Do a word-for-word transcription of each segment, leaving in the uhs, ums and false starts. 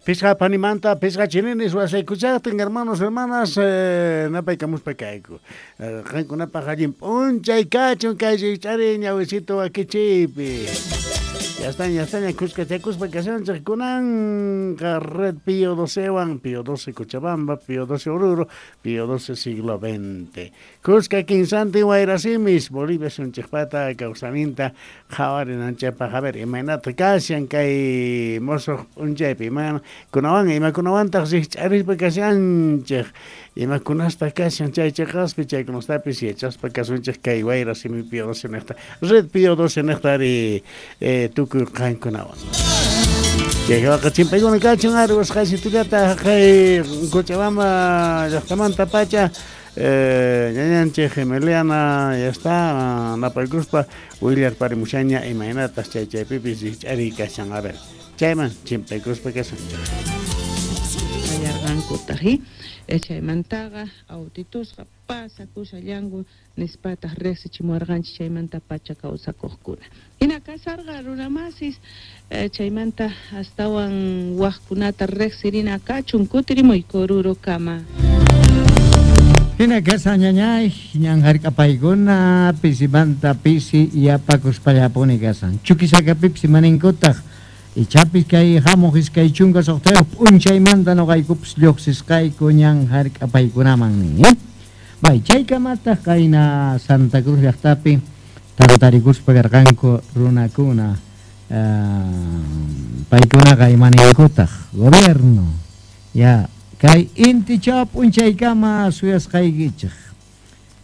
Pisqa panimanta, pisqa chininis wasaykuchaqtin, hermanos, hermanas, eh, napaykamuspa kayku. Qankunapaq allin p'unchay kachun kay rikch'ari ñawisito wakichiypi. Ya están, ya están, kuskachakuspa kashanchik kunanqa Red Pío docewan, Pío doce Cochabamba, Pío doce Oruro, Pío doce siglo veinte. Kuska kinsantin wayrasimis, Bolivia sunchikpata kawsaninta qhawarinanchikpaq. A ver, imaynata kashan kay mosoq p'unchaypi, ima kunawan, imakunawantaq rikch'arispa kashanchik, imakunasta kashan chay chiqaspi, chaykunastapis yachaspa kasunchik kay wayrasimi Pío doce niqta, Red Pío doce niqta ari eh, tukuy qankunawan. Chayqa chimpaykuna kachun ari wasqaysitullata kay Cochabamba llaqtamanta pacha eh, ñañanchik Emiliana ya está napaykuspa willarparimushaña imaynatas chay chaypipis rikch'ariy kashan. A ver, chayman chimpaykuspa kasunchik. Qallarqankutaq, chaymantaqa autitusqa pasakushallanku nispataq riqsichimuwarqanchik chaymanta pacha kawsakuqkuna. Hina kasarqa runamasis chaymanta astawan waqkunata riqsirina kachun kutirimuyku Orurokama. Hina kasa ñañay, ñan hark'apaykuna pisimanta pisi yapakuspallapuni kasan. Chuquisacapipis imaninkutaq ichapis kay hamuq iskay chunka suqtayuq p'unchaymanta nuqaykupis lluqsisqayku ñan hark'apaykunaman nin, eh? Bay, chaykamataq qayna Santa Cruz llaqtapi tantarikuspa karqanku runakuna, uh, paykunaqa imaninkutaq gobierno ya kay intichaw p'unchaykama suyasqaykichik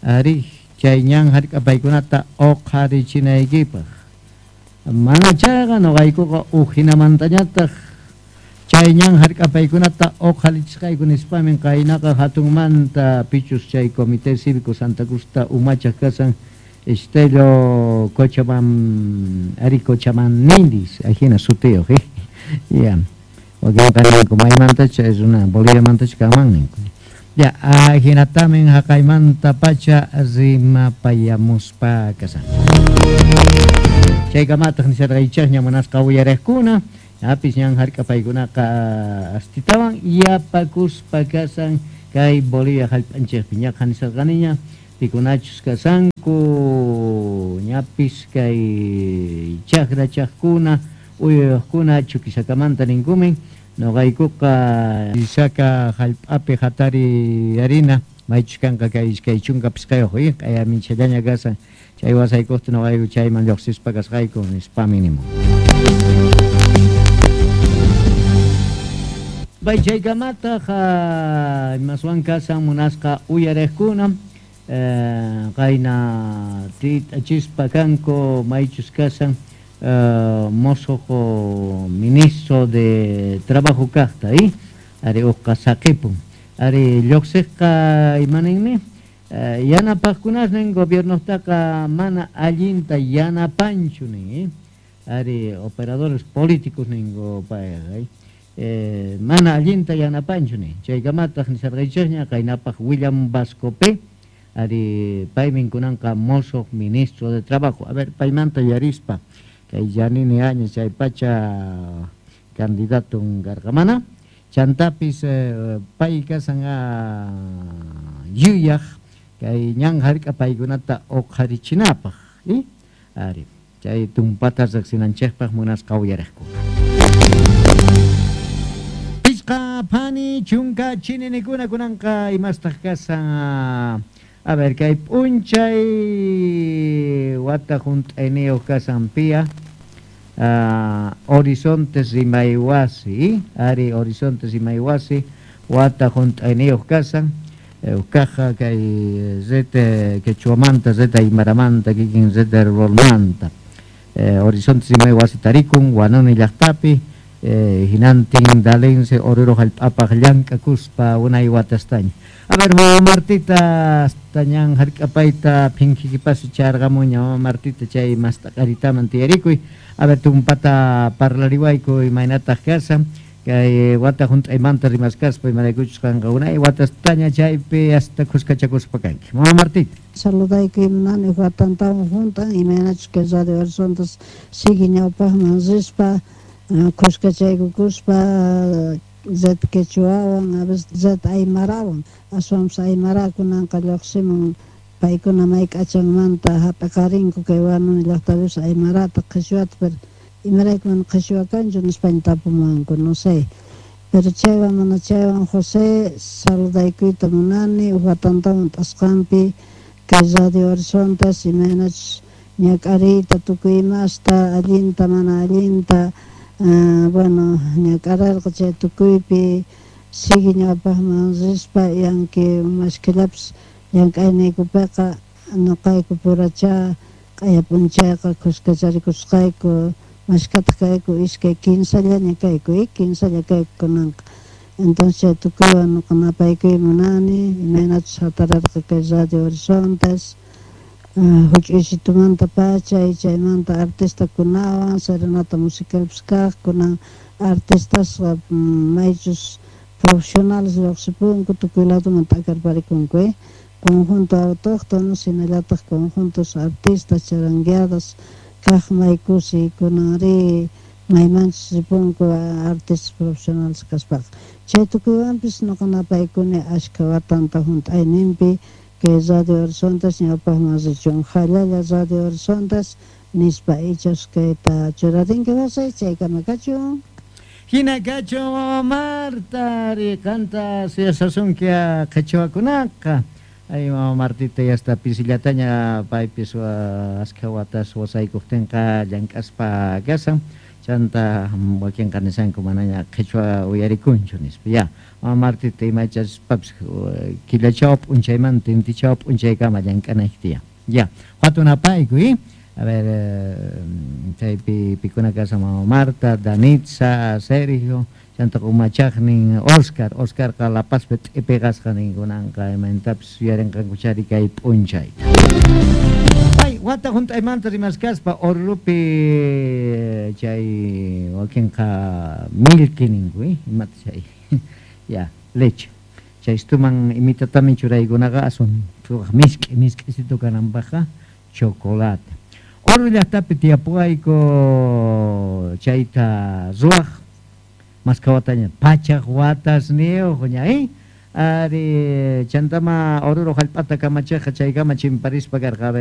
ari chay ñan hark'apaykunata uqharichinaykipaq mana chayqa nuqaykuqa ujinamantañataq chay ñan hark'apaykunata uqharichisqayku nispamin qaynaqa hatunmanta pichus chay Comité Cívico Santa Cruzta umachaq kasan Estelo Cochabam ari Cochabamnindis ajina sutiyuq, eh ya wakinqa ninku maymantacha runa Boliviamantacha kanman ninku ya ajinatamin haqaymanta pacha rimapayamuspa kasan. Chaykamataq nisharqaychikña munasqa uyariqkuna apis ñan hark'apaykunaqa astitawan yapakuspa kasan kay Bolivia hallp'anchikpi ñaqa nisharqaniña pikunachus kasanku ñapis kay chakrachaqkuna uyayuqkuna Chuquisakamanta ninkumin nuqaykuqa Isaka hallp'api hatari harina maychus kanqa kay iskay chunka pisqayuq q'ayaminchallaña kasan chay wasaykuqta nuqayku chayman lluqsispa kasqayku nispami nimun. Bay chaykamataq imaswan kasan munasqa uyariqkuna qayna tit'achispa kanku maychus kasan mosoq ministro de Trabajo kaqta, eh ari uqqa saqipun ari lluqsiqqa imaninmi yanapaqkunasnin gobiernotaqa mana allinta yanapanchu nin, ari operadores políticos ninku payqa, eh, mana allinta yanapanchu nin. Chaykamataq nisarqaychikña qaynapaq William Vasco P. Ari paymin kunanqa mosoq ministro de Trabajo. A ver, paymanta yarispa kay Yanini Áñez chay pacha candidato karqamana chantapis eh, pay kasan yuyaq kay ñan hark'apaykunata uqharichinapaq, eh? Ari chay tumpata riqsinanchikpaq munasqa uyariqkuna. Pisqa phani chunka chininikuna kunanqa imastaq kasan. A ver, kay p'unchay wata hunt'ayniyuq kasan pia uh, Horizontes Rimaywasi, ari Horizontes Rimaywasi wata hunt'ayniyuq kasan uqaqa kay red quechuamanta, red aymaramanta, kikin red ruralmanta eh, Horizontes Rimaywasi tarikun Wanuni llaqtapi eh, hinantin dalense Oruro hallp'apaq llank'akuspa unay watastaña. A ver, mama Martita, hasta ñan hark'apayta phinkikipasu charqamuña mama Martita chay mast'aqaritaman tiyarikuy. A ver, tumpata parlariwayku imaynataq kasan kay wata hunt'aymanta rimaskaspa imaraykuchus qanqa unay watastaña chaypi hasta kuskachakuspa kanki. Mama Martita. Saludayku imanani watantawan juntan imaynachus kay Radio Horizontes sigue ñawpaqman rispa Khuskachaykukuspa red quechuawan, a veces red aymarawan, aswanpas aymara kunanqa lluqsimun paykuna may k'achanmanta hap'iqarinku kay Huanuni llaqtapipis aymarata qhichwata, pero imarayku mana qhichwa kanchu nispaña tapumuwanku, no sé. Pero chaywan mana chaywan José saludaykuyta munani uj watantawan t'asqanpi kay Radio Horizontes imaynachus ñak'ariyta tukuy imasta allinta mana allinta uh, bueno ñak'ararqa chay tukuypi sigue ñawpaqman rispa y aunque mashkhillapis llank'ayniykupiqa nuqayku puracha q'aya p'unchayqa khuskacharikusqayku mashkhataq kayku iskay kinsallaña kayku y kinsalla kayku kunanqa entonces chay tukuywan nuqa napaykuy munani imaynachus hatararqa kay Radio Horizontes uh, huch'uysitumanta pacha y chaymanta artistakunawan serenata musicalpis kaq kunan artistasqa maychus profesionales lluqsipunku tukuy ladoman t'akarparikunku eh conjunto autóctono hinallataq conjuntos artistas charangueadas kaq may kusi kunanri maymanchus ripunku artistas profesionales kaspaqa chay tukuywanpis nuqa napaykuni ashkha watanta hunt'ayninpi kay Radio Horizontes ñawpaqman richun jallalla Radio Horizontes nispa ichas kayta churarinki José chaykama kachun. Hina kachun mama Marta riqanta suyasasunki qhichwakunaqa. Ay mama Martita ya está pisillataña paypis askha watas wasaykuqtinqa llank'aspa kasan chanta wakinqa nisanku manaña qhichwa uyarikunchu nispa ya mama Martita imachaspapis killachaw p'unchaymanta intichaw p'unchaykama llank'anayki tiyan ya hatunapayku eh a ver chaypi pikuna kasan mama Marta, Danitza, Sergio chanta umachaqnin Oscar, Oscarqa La Pazpi t'ipiqasqa ninkunanqa imantapis yuyarinqankuchari kay p'unchayta. Ay, wata hunt'aymanta rimaskaspa Orurupi chay wakinqa milki ninku, eh? Imata chay ya, leche. Chay istuman imitatamin churaykunaqa aswan misk'i misk'isitu kananpaqqa chocolate. Oruro llaqtapi tiyapuwayku chayta ruwaq maskawataña pachaq watas niyuq ña eh ari chantama Oruro hallp'ata kamachiqqa chaykama chimparispa karqa a ver